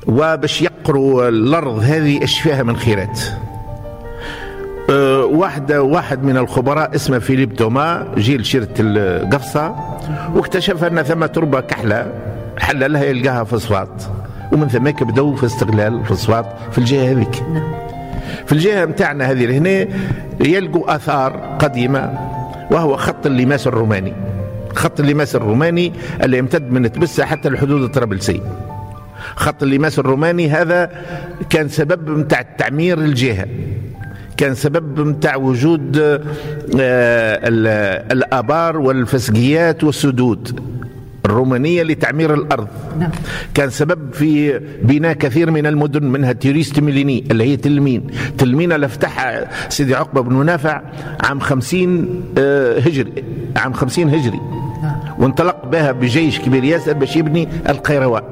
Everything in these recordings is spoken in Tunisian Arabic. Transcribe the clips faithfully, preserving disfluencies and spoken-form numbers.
وباش يقروا الأرض هذه إيش فيها من خيرات. أه واحد واحد من الخبراء اسمه فيليب توما جيل شيرة القفصة، واكتشف أن ثم تربة كحلة حللها يلقاها فوسفات، ومن ثم بدأوا في استغلال الفوسفات في الجهة هذيك. في الجهة متاعنا هذه لهنا يلقوا آثار قديمة، وهو خط اللماس الروماني. خط اللماس الروماني اللي يمتد من تبسة حتى الحدود الطرابلسية. خط اللماس الروماني هذا كان سبب متاع تعمير الجهة، كان سبب متاع وجود الآبار والفسقيات والسدود الرومانية لتعمير الأرض. كان سبب في بناء كثير من المدن، منها تيريست ميليني اللي هي تلمين. تلمين اللي فتحها سيدي عقبة بن نافع عام خمسين هجري، عام خمسين هجري، وانطلق بها بجيش كبير ياسر باش يبني القيروان.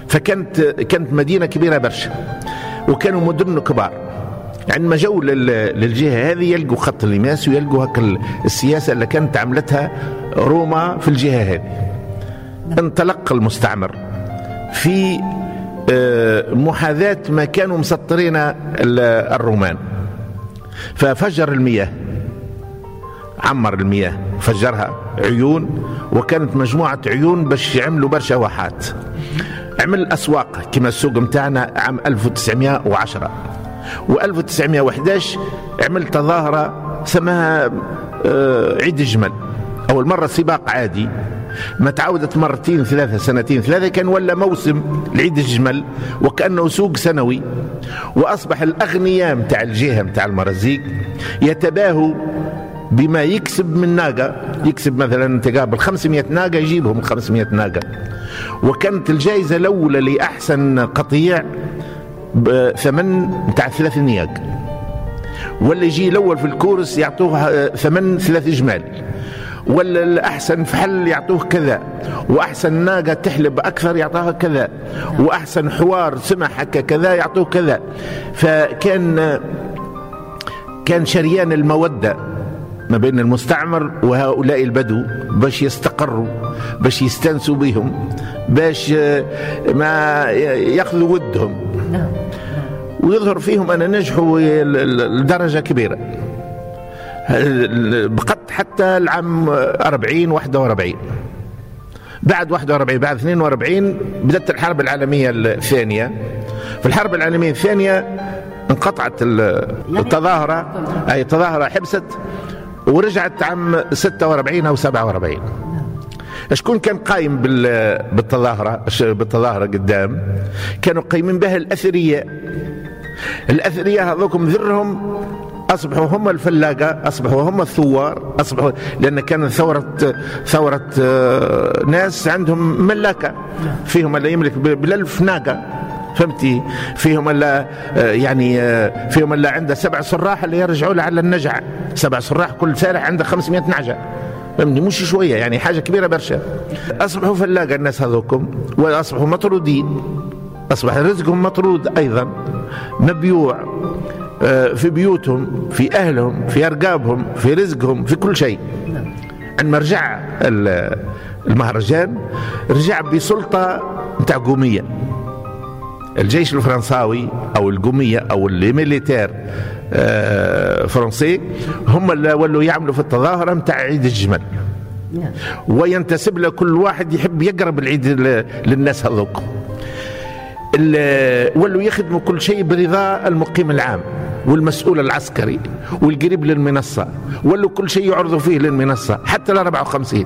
فكانت كانت مدينة كبيرة برشا، وكانوا مدن كبار. عندما جو للجهة هذه يلقوا خط اللماس ويلقوا هك السياسة اللي كانت عملتها روما في الجهة هذه. انطلق المستعمر في محاذاة ما كانوا مسطرين الرومان، ففجر المياه، عمر المياه، فجرها عيون، وكانت مجموعة عيون باش يعملوا برشا واحات. عمل أسواق كما السوق متاعنا عام ألف وتسعمائة وعشرة وألف وتسعمائة وإحداش عمل تظاهرة سماها عيد الجمل. أول مرة سباق عادي، ما تعودت مرتين ثلاثة سنتين ثلاثة، كان ولا موسم العيد الجمل وكأنه سوق سنوي. وأصبح الأغنياء متاع الجهة متاع المرازيق يتباهوا بما يكسب من ناقة، يكسب مثلا تقابل خمسمائة ناقة يجيبهم خمسمائة ناقة. وكانت الجائزة الأولى لأحسن قطيع بثمن متاع ثلاث نياق، واللي يجي الأول في الكورس يعطوه ثمن ثلاث جمال، ولا الأحسن فحل يعطوه كذا، وأحسن ناقة تحلب أكثر يعطوها كذا، وأحسن حوار سمح كذا يعطوه كذا. فكان كان شريان المودة ما بين المستعمر وهؤلاء البدو باش يستقروا، باش يستنسوا بهم، باش ما يأخذوا ودهم. ويظهر فيهم أن نجحوا لدرجة كبيرة، بقت حتى العام أربعين واحد وأربعين. بعد واحد وأربعين بعد اثنين وأربعين بدأت الحرب العالمية الثانية. في الحرب العالمية الثانية انقطعت التظاهرة، أي التظاهرة حبست ورجعت عام ستة وأربعين أو سبعة وأربعين. شكون كان قايم بالتظاهرة؟ بالتظاهرة قدام كانوا قايمين بها الأثرياء. الأثرياء هذوكم ذرهم أصبحوا هم الفلاقة، أصبحوا هم الثوار، أصبحوا لأن كان ثورة ثورة ناس عندهم ملاكة، فيهم اللي يملك بالألف ناقة، فهمتي؟ فيهم اللي يعني فيهم اللي عنده سبع صراح اللي يرجعوا له على النجع، سبع صراح كل سارح عنده خمسمائة نعجة، فهمتني؟ مش شوية يعني، حاجة كبيرة برشا. أصبحوا فلاقة الناس هذوكم، وأصبحوا مطرودين، أصبح رزقهم مطرود أيضا، مبيوع في بيوتهم، في أهلهم، في أرقابهم، في رزقهم، في كل شيء. عندما رجع المهرجان رجع بسلطة متاع قومية. الجيش الفرنساوي أو القومية أو les militaires français هم اللي ولوا يعملوا في التظاهرة متاع عيد الجمل، وينتسب له كل واحد يحب يقرب العيد للناس هذوك. ولوا يخدموا كل شيء برضا المقيم العام والمسؤول العسكري والقريب للمنصة، ولوا كل شيء يعرضوا فيه للمنصة حتى ال أربعة وخمسين.